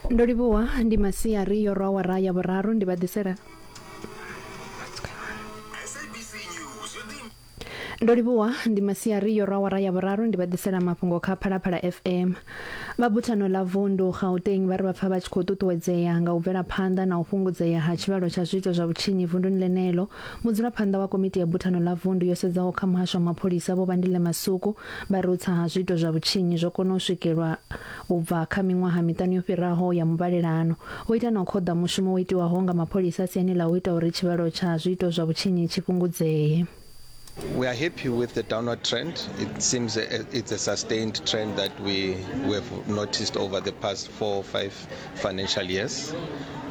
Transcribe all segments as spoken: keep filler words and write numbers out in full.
Ndo livhuwa ndi masiari yo rwa awara ya vhuraru ndi vha ḓisela S A B C News yo ḓi Ndo livhuwa ndi masiari yo rwa awara ya vhuraru ndi vha ḓisela mafhungo kha Phalaphala F M. Vha buthano ḽa vundu Gauteng vha ri vha pfa vha tshi khou ṱuṱuwedzea nga u bvela phanḓa na u fhungudzea ha tshivhalo tsha zwiito zwa vhutshinyi vunduni ḽeneḽo. Mudzulaphanḓa wa komiti ya buthano ḽa vundu yo sedzaho kha muhasho wa mapholisa, Vho Bandile Masuku, vha ri u tsa ha zwiito zwa vhutshinyi zwo kona u swikelwa u bva kha miṅwaha miṱanu yo fhiraho ya muvhalelano. Vho ita na u khoḓa mushumo wo itiwaho nga mapholisa siani ḽa u ita uri tshivhalo tsha zwiito zwa vhutshinyi tshi fhungudzee. We are happy with the downward trend. It seems a, it's a sustained trend that we, we have noticed over the past four or five financial years.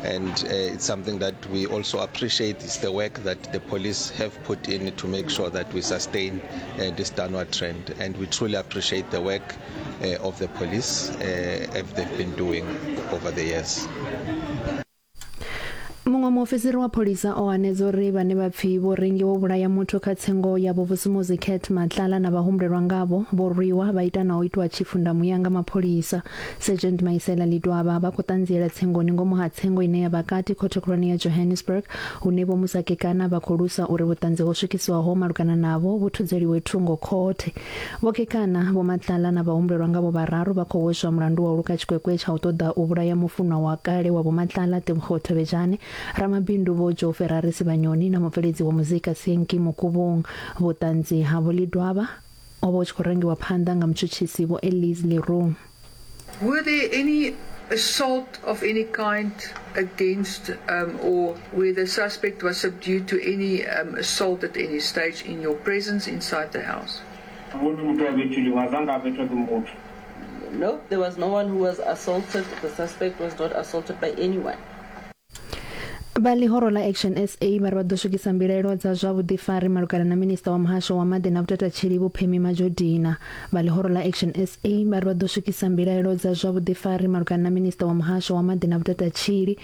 And uh, it's something that we also appreciate is the work that the police have put in to make sure that we sustain uh, this downward trend. And we truly appreciate the work uh, of the police uh, as they've been doing over the years. Muṅwe muofisiri wa pholisa o hanedza uri vhane vha pfi vho rengiwa u vhulaya muthu kha tsengo ya Vhuvusumuzi Cat Matlala na vhahumbulelwa ngavho vho rwiwa vha ita na u itwa tshifundamuya nga mapholisa. Sergeant Maisela Lidwaba vha khou ṱanziela tsengoni ngomu ha tsengo ine ya vha kati khothe khulwane ya Johannesburg, hune Vho Musa Kekana vha khou lusa uri vhuṱanzi ho swikiswaho malugana navho vhu thudzeliwe thungo khothe. Vho Kekana, Vho Matlala na vhahumbulelwa ngavho vhararu vha khou hweswa mulandu wa u luka tshikwekwe tsha u ṱoḓa u vhulaya mufunwa wa kale wa Vho Matlala, Tebogo Thobejane, ramabindu Vho Joe Ferrari Sibanyoni na mubveledzi wa muzika Senki Mokubung. Vhuṱanzi ha Vho Lidwaba o vha u tshi khou rangiwa phanḓa nga mutshutshisi Vho Elise Leroux. Were there any assault of any kind against um, or where the suspect was subdued to any um, assault at any stage in your presence inside the house? Ubona umuntu wabethuliwe azange abethwe ke muthu. No, there was no one who was assaulted. The suspect was not assaulted by anyone. Vha ḽihoro ḽa Action S A vha ri vha ḓo swikisa mbilaelo dza zwa vhuḓifari malugana na minista wa muhasho wa maḓi na vhutatshili, Vho Pemmy Majodina. Vha ḽihoro ḽa Action S A vha ri vha ḓo swikisa mbilaelo dza zwa vhuḓifari malugana na minista wa muhasho wa maḓi na vhutatshili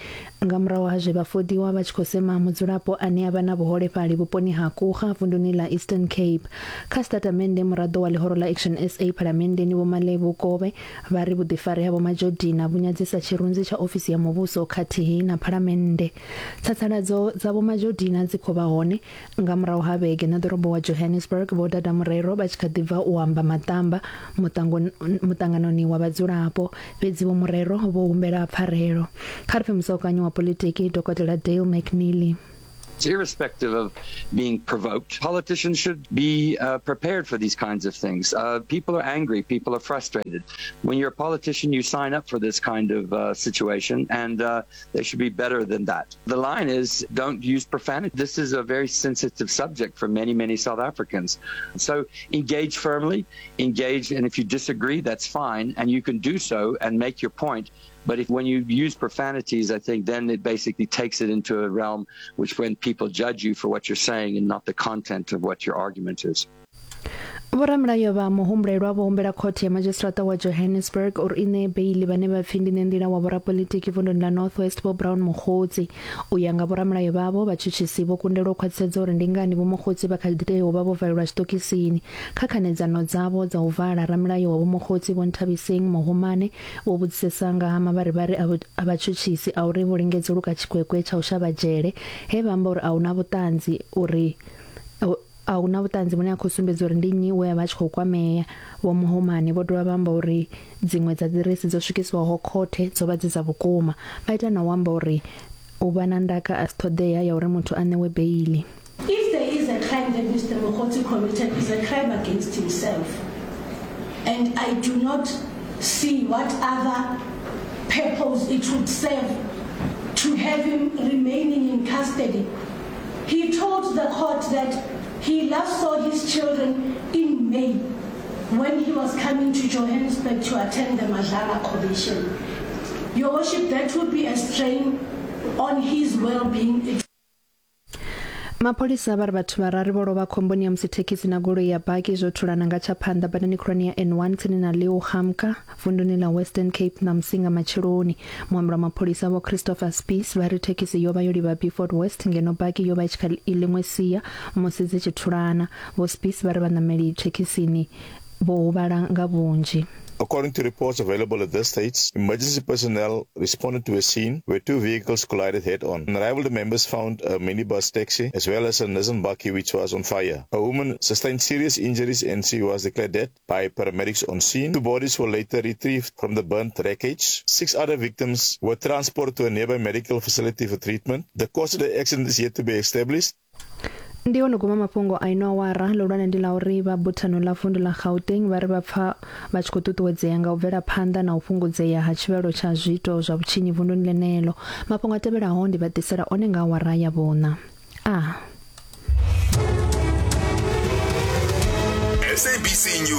nga murahu ha zwe vha fodiwa vha tshi khou sema mudzulapo ane a vha na vhuholefhali vhuponi ha Kuga vunduni ḽa Eastern Cape. Kha sitatamennde, muraḓo wa ḽihoro ḽa Action S A phalamenndeni, Vho Malebo Kove, vha ri vhuḓifari ha Vho Majodina vhu nyadzisa tshirunzi tsha ofisi ya muvhuso khathihi na phalamennde. Tsatsaladzo dza Vho Majodina dzi khou vha hone nga murahu ha vhege na ḓorobo wa Johannesburg Vho Dada Morero vha tshi kha ḓi bva u amba maṱamba muṱanganoni wa vhadzulapo, fhedzi Vho Morero vho humbela pfarelo. Kha ri pfe musaukanyi wa politiki, Dokotela Dale McNeely. Irrespective of being provoked, politicians should be uh, prepared for these kinds of things. Uh, people are angry, people are frustrated. When you're a politician, you sign up for this kind of uh, situation, and uh, they should be better than that. The line is, don't use profanity. This is a very sensitive subject for many, many South Africans. So engage firmly, engage, and if you disagree, that's fine, and you can do so and make your point. But if when you use profanities, I think then it basically takes it into a realm which when people judge you for what you're saying and not the content of what your argument is. Vhoramilayo vha muhumbulelwa vho humbela khothe ya madzhisiṱiraṱa wa Johannesburg uri i ṋee beili vhane vha pfi ndi ṋenḓila wa vhorapolitiki vunduni ḽa North West, Vho Brown Mogotsi. U ya nga vhoramilayo vhavho, vhatshutshisi vho kundelwa u khwaṱhisedza uri ndi ngani Vho Mogotsi vha kha ḓi tea u vha vho valelwa tshiṱokisini. Kha khanedzano dzavho dza u vala, ramilayo wa Vho Mogotsi, Vho Nthabiseng Mohomane, vho vhudzisesa nga ha mavharivhari a vhatshutshisi a uri vho lingedza u luka tshikwekwe tsha u shavha dzhele, he vha amba uri a huna vhuṱanzi uri a huna vhuṱanzi vhune ha khou sumbedza uri ndi nnyi we a vha tshi khou kwamea. Vho Mohomane vho dovha vha amba uri dziṅwe dza ḓiresi dzo swikiswaho khothe dzo vha dzi dza vhukuma, vha ita na u amba uri u vha na ndaka a si ṱhoḓea ya uri muthu a ṋewe beili. If there is a crime that Mister Mogotsi committed, is a crime against himself. And I do not see what other purpose it would serve to have him remaining in custody. He told the court that he last saw his children in May when he was coming to Johannesburg to attend the Madlanga Commission. Your Worship, that would be a strain on his well-being. It Mapholisa vha ri vhathu vhararu vho lovha khomboni ya musi thekhisi na goloi ya baki zwo thulana nga tsha phanḓa badani khulwane ya N one tsini na Leeugamka vunduni ḽa Western Cape ṋamusi nga matsheloni. Muambeli wa mapholisa, Vho Christopher Spies, vha ri thekhisi yo vha yo livha Beaufort West ngeno baki yo vha i tshi kha ḽiṅwe sia musi dzi tshi thulana. Vho Spies vha ri vhaṋameli thekhisini vho huvhala nga vhunzhi. According to reports available at this stage, emergency personnel responded to a scene where two vehicles collided head-on. On arrival, the members found a minibus taxi as well as a Nissan bakkie which was on fire. A woman sustained serious injuries and she was declared dead by paramedics on scene. Two bodies were later retrieved from the burnt wreckage. Six other victims were transported to a nearby medical facility for treatment. The cause of the accident is yet to be established. Ndi hone guma mafhungo a ino awara ḽihulwane ndi ḽa uri vha buthano ḽa vundu ḽa Gauteng vha ri vha pfa vha tshi khou ṱuṱuwedzea nga u bvela phanḓa na u fhungudzea ha tshivhalo tsha zwiito zwa vhutshinyi vunduni ḽeneḽo. Mafhungo a tevhelaho ndi vha ḓisela one nga awara ya vhuṋa. A S A B C News.